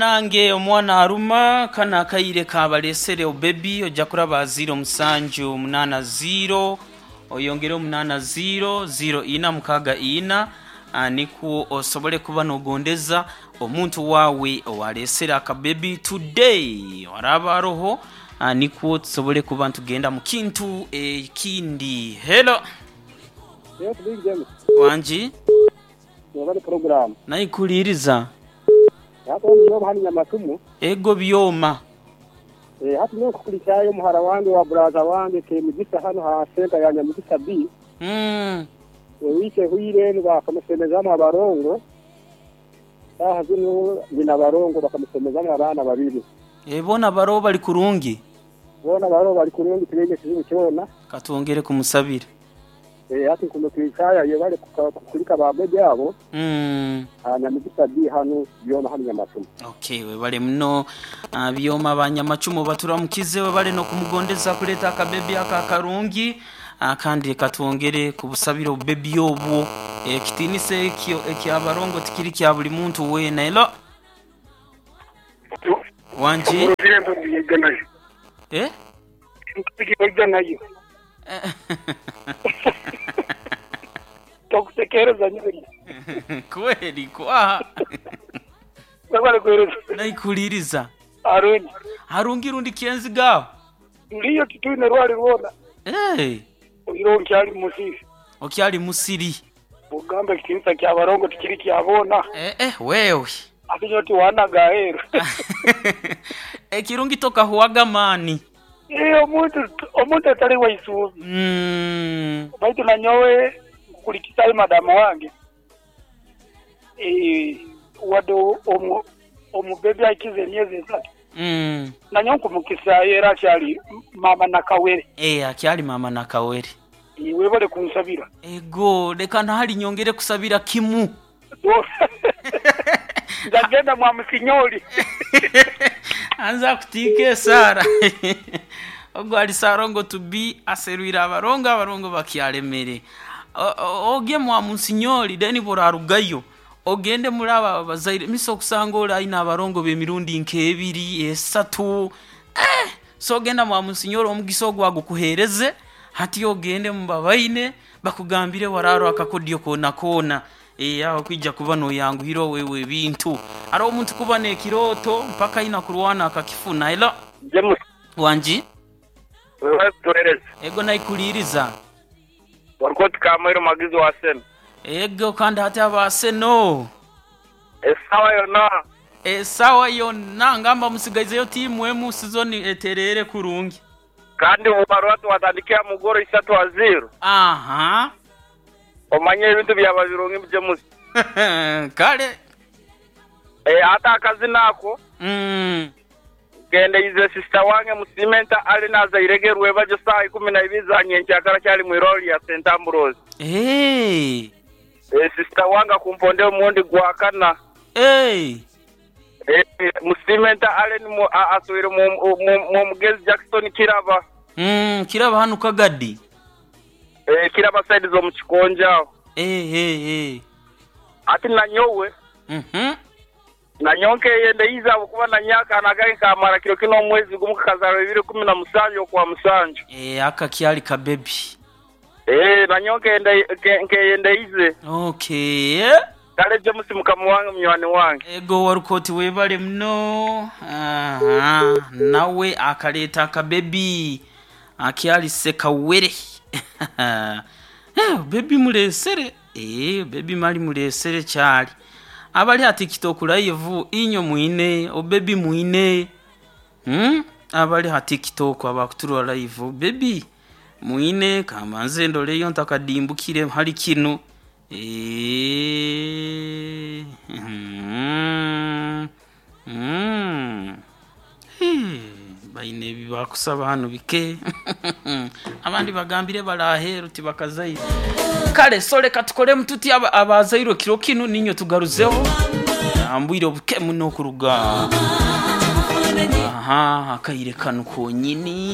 Nange omwana aruma kana akaire kabalesere obebi ojja kuraba 0780 oyongere 80 0464 nikwo osobole kuba nogondeza omuntu wawe owalesere akabebi today waraba aroho, nikwo tusobole kuba ntugenda mu kintu ekindi. Hello. Yes, Big James. Wanji. Wabali program. Naikuliriza. Hapo niyo hali nyamatumu. Ego byoma. Eh, hati niyo kukulichayo muhara wange wa brother wange ke mugisa hano ha center ya Nyamugisa B. Wike huire bakamusemezamo abarongo. Saha zino nyina abarongo bakamusemezamo abana babiri. Ebona baro bali kurungi. Bona baro bali kurungi tulege kizibu kyona. Katwongere kumusabira. Eh, hati kumukwichaya ye bali kukulika babebe abo. Nyamugisa B hano byoma hano Nyamatumu. Okay, webale muno, byoma banyamacumu baturamukize, webale nokumugondeza kuleta akabebi aka akarungi, kandi katwongere kubusabira obubebi obwo. Ekitinisa ekyo ekyabarongo tikiri kya buli muntu weena. Elo wanji. Urugendo ndiyeganayo. Eh? Ndiyeganayo. Tokusekereza nyeri. Kweli kwa Webale kuhereza. naikuliriza. Aruni. Harungi rundi kienzi gawo. Ndiyo kitune rwali rwona. Hey, Oyiro nkyali musiri. okyali musiri. Ugamba ekitinisa kya barongo tikiri kyabona. Eh, eh, wewe. Ate nyoti wana gaheru. Ekirungi tokahuwaga maani. Eh, omuntu atali waisuubi. Baitu nanyowe nkukulikisayo madamu wange. Eh, wadde omubebi akize emyezi 3. Nanyo nkumukisaayo era akyali mama nakawere. Eh, akyali mama nakawere. Webale kunsabira. Ego, leka nahali nyongere kusabira kimu. Ndagenda mwa musinyoli. Anza kutiika esaara. Ogwo ali Sarongo to be aserwire abarongo, abarongo bakyalemere. Ogye mwa musinyoli then burarugayo. Ogende muri aba bazaire miso okusanga oli ayina abarongo b'emirundi nk'ebiri esatu. So ogenda mwa musinyoli omugisa ogwo agukuhereze, hati ogende mu babaine bakugambire wararo akakodyo koona koona. Aho kwija kuba noyanguhira wewe ebintu. Hariho omuntu kuba n'ekirooto mpaka aina kurwana akakifuna. Elo James. wanji. Wewe tuhereze. Ego naikuliriza. Wariko tukamwero magizo wa seno. Ego kandi hati abaseno. Esawa yonna. Esawa yonna ngamba musigaizeyo tiimu emu sizoni eterere kurungi. Kandi ubarua tuwatandikia mugoro 3-0. Aha. Omanye ebintu byaba birungi James. Kale. Eh, hata akazi nako. Gende ize sister wange musimenta ali naza iregerwe bajo saa 12 za nyenkyakara kyali mu iroli ya St Ambrose. Hey. Eh, sister wange kumponde omundi gwakana. Hey. Eh, musimenta ali mu aswire mu mugezi Jackson Kiraba. Kiraba hano kagadi. Eh, Kiraba side zo mu kikonja. Eh, eh, eh. Ati nanyowe. Nanyonke yende iza kuba nanyaka nagaye kamara kiro kino mwezi gumu kazaro 2017 okwa musanju. Eh, aka kyali ka baby. Eh, nanyonke yende nke yende ize. Okay. Kale je musimuka muwange munywani wange. Ego warukoti webale muno. Aha, nawe akaleta ka baby. Akyali sekawere. Eh, baby mulesere. Eh, baby mali mulesere kyali. Abali ati TikTok live inyo mwine, o baby mwine. Abali ha TikTok abakuturwa live baby mwine kamanze ndoleyo ntakadimbukire hali kino. Eh. Baine bibakusaba hano bike. Abandi bagambire balaheru tibakazaire. Kale so leka tukole mututi abazairwe kiro kino ninyo tugaruzeho. Ambwire obuke muno kuruga. Aha, akaire kano konyini.